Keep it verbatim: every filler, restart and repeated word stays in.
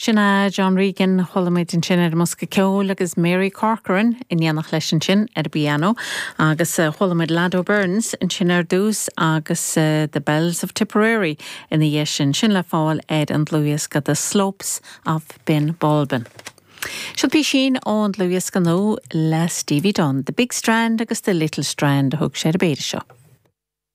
Sin é John Regan chuala muid ansin ar an mbosca ceoil agus Mary Corcoran in éineacht leis ansin ar an bpianó agus uh, chuala muid Lado Burns ansin ar dtús agus uh, The Bells of Tipperary ina dhiaidh sin sin le fáil ar an dlúthdhiosca The Slopes of Bin Bulbin. Seo písín ón dlúthdhiosca nua le Stevie Dunn, The Big Strand agus The Little Strand a thug sé ar an bpéire seo.